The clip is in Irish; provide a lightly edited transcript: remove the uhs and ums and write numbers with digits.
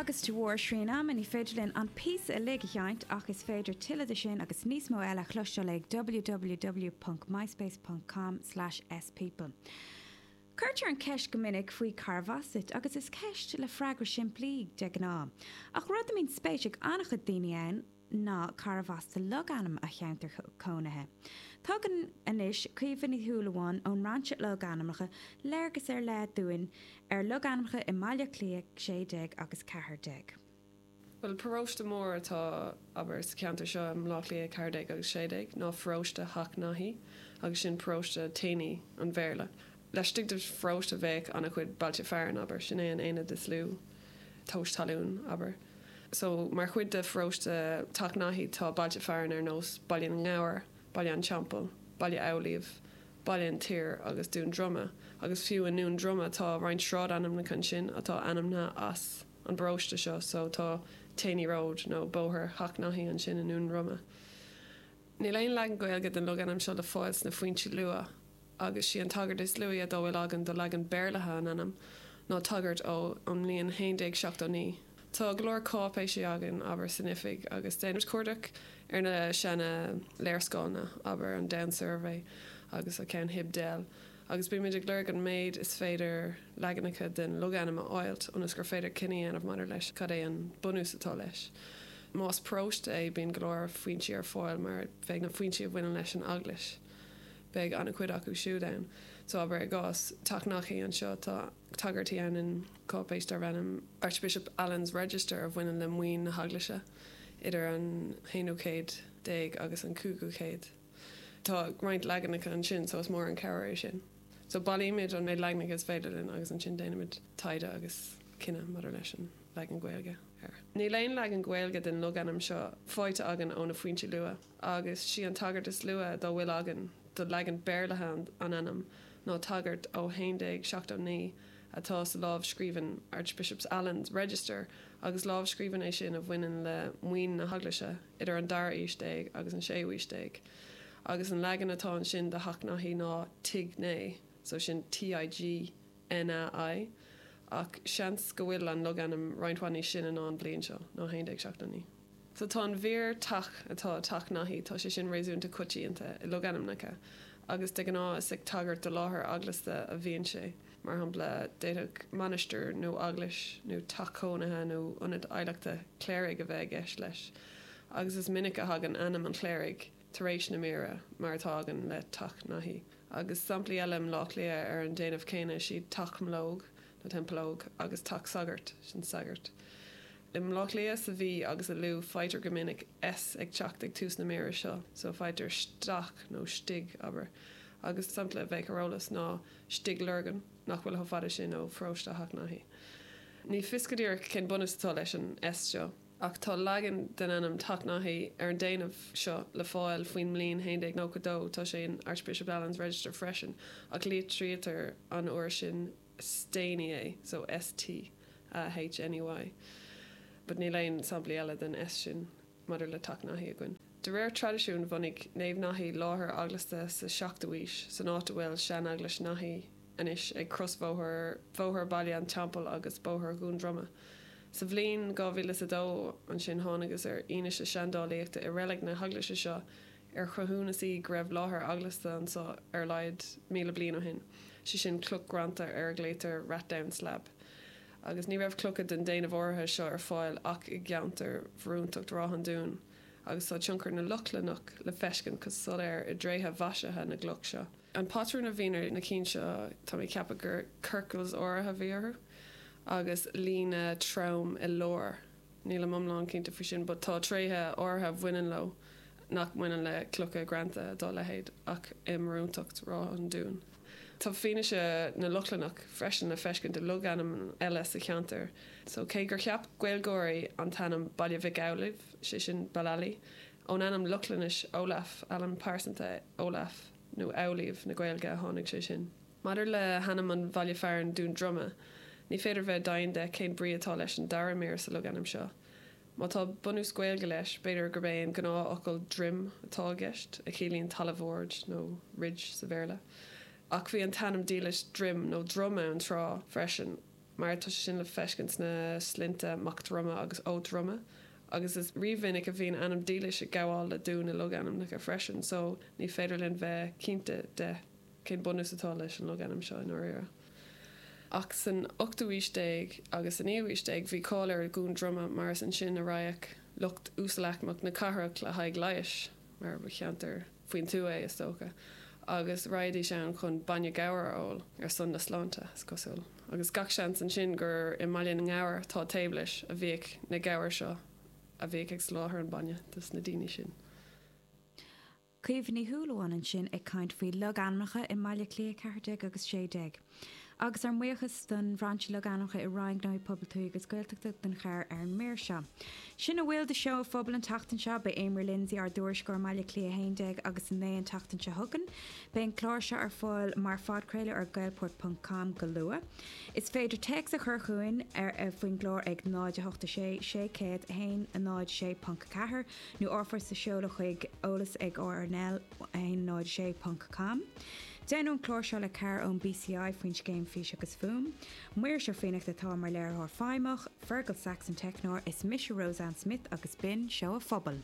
Agus de bharr srian ama ní féidir linn an píosa uilig a sheinnt ach is féidir tuilleadh de sin agus níos mó eile a chloisteáil ag www.myspace.com/speople. Cuirtear an cheist go minic faoi carbh as duit agus is ceist le freagra simplí de ghnáth. Ach rud a mbíonn spéis ag an-chuid daoine ann ná carbh as do logainm a cheantar cónaithe. Tugann anois Caoimhe Ní Shúilleabháin ón mBrainse Logainmneacha léargas ar leith dúinn ar logainmneacha i mBaile Átha Cliath 16 agus 14. Bhuel, paróiste mór atá, abair, sa cheantar seo i mBleá Cliath 14 agus 16 ná pharóiste Theach Naithí agus sin paróiste Taney an Bhéarla. Laistigh de pharóiste bheadh an-chuid bailte fearainn, abair, sin é an aonad is lú tomhais talún, abair. So, mar chuid de pharóiste Theach Naithí tá bailte fearainn ar nós Baile na nGabhar, Baile an Teampaill, Baile Amhlaoibh, Baile an tSaoir agus Dún Droma agus fiú i nDún Droma tá roinnt sráidainmneacha ansin atá ainmnithe as an bparóiste seo so tá Taney Road nó Bóthar Theach Naithí ansin i nDún Droma. Níl aon leagan Gaeilge den logainm seo le fáil sna foinsí luath agus sí an tagairt is luaithe dá bhfuil againn do leagan Béarlaithe an ainm ná tagairt ó an mbliain 1179. Tá go leor cáipéisí againn, abair, san oifig agus déanaimid cuardach ar na seana léarscáileanna, abair, an Down Survey agus an ceann Hibdel. Agus bímid ag lorg an méid is féidir leaganacha den logainm a fháilt ionas gur féidir cinneadh a dhéanamh maidir leis cad é an bunús atá leis. Más paróiste é bíonn go leor foinsí ar fáil mar beidh na foinsí a bhaineann leis an eaglais, beidh an-chuid acu siúd ann. So abair i gcás Teach Naithí anseo tá tagairtí ann in cáipéis darb ainm Archbishop Alan's Register a bhaineann le maoin na heaglaise idir an haonú céad déag agus an cúigiú céad. Tá roinnt leaganacha ansin so is mór an cabhair é sin. So bailímid an méid leaganacha is féidir linn agus ansin déanaimid taighde agus cinneadh maidir leis an leagan Gaeilge air. Níl aon leagan Gaeilge den logainm seo faighte againn ó na foinsí luath agus sí an tagairt is luaithe dá bhfuil againn do leagan Béarlaithe an ainm ná tagairt ó 1179 atá sa lámhscríbhinn Archbishop's Alan's Register agus lámhscríbhinn é sin a bhaineann le maoin na heaglaise idir an dara haois déag agus an séú haois déag, agus an leagan atá ansin de Theach Naithí ná Tigh Nae, so sin T-I-G-N-A-I, ach seans go bhfuil an logainm roinnt mhaith níos sine ná an bhliain seo, ná 1179. So tá an mhír teach atá i Teach Naithí, tá sé sin réasúnta coitianta i logainmneacha, agus de ghnáth is ag tagairt do láthair eaglasta a bhíonn sé. Mar shampla, d'fhéadfadh mainistir nó eaglais nó teach cónaithe nó ionad adhlactha cléirigh a bheith i gceist leis, agus is minic a thagann ainm an chléirigh tar éis na míre, mar atá againn le Teach Naithí. Agus samplaí eile i mBleá Cliath ar an déanamh céanna is iad Teach Mlóg, nó Templeogue, agus Teach Sagairt, sin Saggart. I mBleá Cliath, sa Mhí agus i Lú faightear go minic S ag teacht ag tús na míre seo, so faightear steach nó stigh, abair. Agus sampla a bheadh ar eolas ná. Stigh Lorgan, nach bhfuil chomh fada sin ó pharóiste Theach Naithí. Ní fios go díreach cén bunús atá leis an S seo, ach tá leagan den ainm Teach Naithí ar an déanamh seo le fáil faoin mbliain 1192, tá sé in Archbishop Alan's Register freisin, ach litrítear an uair sin Staney é, so S-T-A-H-N-E-Y. But níl aon samplaí eile den S sin. maidir le Teach Naithí againn. De réir traidisiúin, bhunaigh Naomh Naithí láthair eaglasta sa 7ú aois, san áit a bhfuil Seaneaglais Naithí anois, ag crosbhóthar Bhóthar Bhaile an Teampaill agus Bóthar Dhún Droma. Sa bhliain 2002 ansin thángthas ar fhianaise seandálaíochta i reilig na heaglaise seo ar chruthúnas í go raibh láthair eaglasta anseo ar a laghad 1,000 bliain ó shin, sé sin cloch ghreanta ar a nglaotar Rathdown Slab. Agus ní raibh clocha den déanamh áirithe seo ar fáil ach i gceantar bharúntacht Ráth an Dúin, agus tá tionchar na Lochlannach le feiscint go soiléir i dtréithe mhaisithe na gcloch seo. An patrún a bhíonn ar na cinn seo, tá mé ag ceapadh gur circles áirithe a bhí orthu, agus líne trom i lár. Nílim iomlán cinnte faoi sin, but tá tréithe áirithe a bhaineann leo nach mbaineann le clocha greanta dá leithéid ach i mbarúntacht Ráth an Dúin. Tá fianaise na Lochlannach freisin le feiscint i logainm eile sa cheantar. So cé gur cheap Gaeilgeoirí an t-ainm Baile Mhic Amhlaoibh, sé sin Balally, ón ainm Lochlainnis Olaf, ainm pearsanta Olaf, nó Amhlaoibh na Gaeilge a tháinig sé sin. Maidir le hainm an bhaile fearainn Dún Droma, ní féidir bheith deimhin de cén brí atá leis an dara mír sa logainm seo. Má tá bunús Gaeilge leis, b'fhéidir gurb é an gnáthfhocal droim atá i gceist, a chiallaíonn talamh ard nó ridge sa Bhéarla. Ach bhí an t-ainm dílis Druim nó Drom ann tráth freisin. Mar tá sé sin le feiscint sna sloinnte Mac Droma agus Ó Droma. Agus is rímhinic a bhíonn ainm dílis ag gabháil le dún i logainmneacha freisin, so ní féidir linn bheith cinnte de cén bunús atá leis an logainm seo i ndáiríre. Ach san ochtú aois déag agus sa naoú aois déag bhí cáil ar Dhún Droma mar is ansin a raghadh lucht uasalaicmeach na cathrach le haghaidh leighis, mar ba cheantar faoin tuath é, is dócha, agus raghaidís ann chun bainne gabhair a ól, ar son na sláinte, is cosúil. Agus gach seans ansin gur i mBaile na nGabhar, atá taobh leis, a bhíodh na gabhair seo a bhíodh ag soláthar an bainne dos na daoine sin. Caoimhe Ní Shúilleabháin ansin ag caint faoi logainmneacha i mBaile Átha Cliath 14 agus 16. Agus ár mbuíochas don Bhrainse Logainmneacha i Roinn Gnóthaí Pobail Tuaithe agus Gaeltachta don chabhair ar an mír seo. Sin a bhfuil de Seó an Phobail an tseachtain seo. Beidh Eimear Lindsay, ár dtuairisceoir i mBaile Átha Cliath 11 agus 9 an tseachtain seo chugainn. Beidh an clár seo ar fáil mar phodchraoladh ar gaelport ponc com go luath. Is féidir téacs a chur chugainn ar faoin gclár ag 0 8 6 600 1 0 6.4 nó r-phost a sheoladh chuig eolas ag rnl 1 0 6 ponc com. Déanadh an clár seo le cabhair ón BCI faoin scéim Fís agus Fuaim. Muiris Ó Fiannachta atá mar léiritheoir feidhmeach, Fergal Sachs an teicneoir, is mise Roseanne Smith agus b'in Seó an Phobail.